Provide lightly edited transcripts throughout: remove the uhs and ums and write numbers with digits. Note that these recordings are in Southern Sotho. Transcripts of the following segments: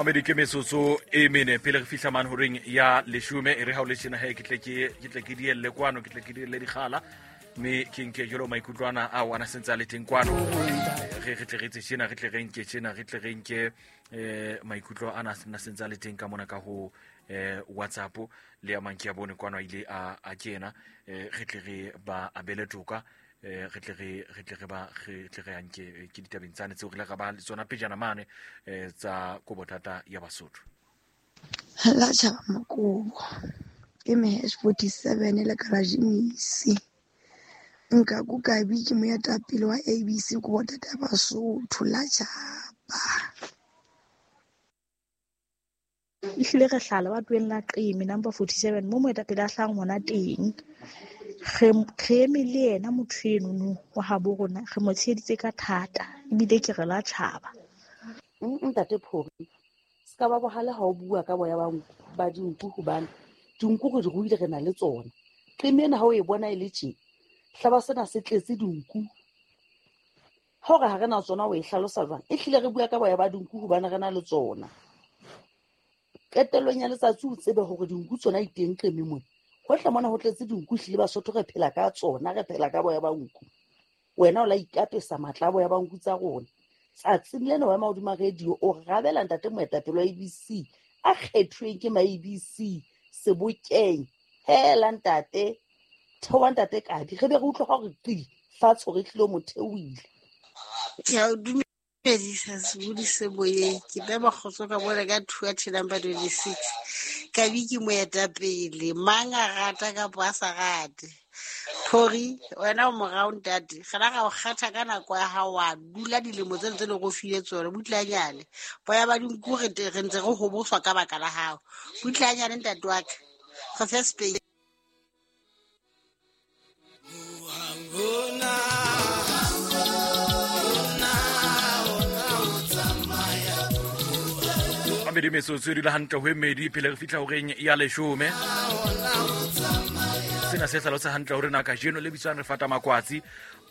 Mamedi, ke metsotso e mene pele re fihla mane horeng ya leshome. E re ha o le tjena he, ke tle ke dielle kwano, ke tle ke dielle dikgala, mme ke nke jalo maikutlo ana ao ana sentse a le teng kwano. Re tle re etse tjena, re tle re nke tjena, re tle re nke maikutlo ana na sentse a le teng ka mona ka ho WhatsApp le a mang ke a bone kwano a ile a kena. Re tle re ba abele toka, re tle re anke ke ditabeng tsane tseo re ile ra ba le tsona pejana mane tsa kobothata ya Basotho. La tjhaba makobo ke me #47 le Kalajimisi nka kukabi ke moetapele wa ABC kobotata ya Basotho la tjhaba. Ehlile re hlala ba tloheng la Qeme number 47 mo moetapele a hlahang hona teng. Re eme le yena motho enono wa habo rona, re mo tsheheditse ka thata ebile ke re la tjhaba. Ntate Phori, se ka ba bohale ha o bua ka boya ba dinku, hobane dinku re di ruile, re na le tsona. Qeme ena ha o e bona e le tje, hlaba sena se tletse dinku. Ha o re ha re na tsona, o e hlalosa jwang? E hlile re bua ka boya ba dinku hobane re na le tsona. Qetellong ya letsatsi o tsebe hore dinku tsona di teng Qeme mona. Hohle mona ho tletse dinku, ehlile Basotho re phela ka tsona, re phela ka boya ba nku. Wena o la ikapesa matla a boya ba nku tsa rona. Tsatsing lena wa ema hodima radio o rabela ntate moetapele wa ABC a kgethuweng ke ma ABC sebokeng. Hela ntate, theoha ntate Kabi, re be re utlwe ha hore qi fatshe hore ehlile o mo theohile. Ke a o dumedisa sebodi se moyeng. Ke bema kgotso ka mona ka 2 number 26. Kabi ke moetapele, mang a rata kapa a sa rate. Phori, wena o morao ntate, gana ga o kgetha ka nako ya hao, wa dula dilemo tse ntse le go file tsone. Butlanyane, boya ba dinku re ntse re hoboswa ka baka la hao. Butlanyane ntate wa ka, re fe space. Mamedi, metsotso e dula hantle ho e mmedi pele re fihla horeng ya leshome. Sena se hlalosa hantle hore na kajeno le bitswang re fata makwatsi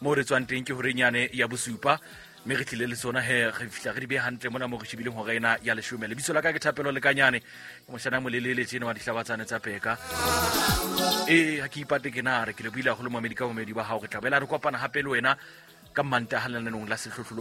mo re tswang teng ke horeng yane ya bosupa, mme re tlile le tsona he, re fihla re di behe hantle mona mo re shebileng hora ena ya leshome. Lebitso la ka ke Thapelo Lekanyane, ke moshana molelele tjena wa dihlabatsane tsa peka. Ee, ha ke ipate ke na re ke lebohile haholo, momedi, ka bomedi ba hao. Re tla boela re kopana hape le wena ka Mantaha lenanong la Sehlohlolo.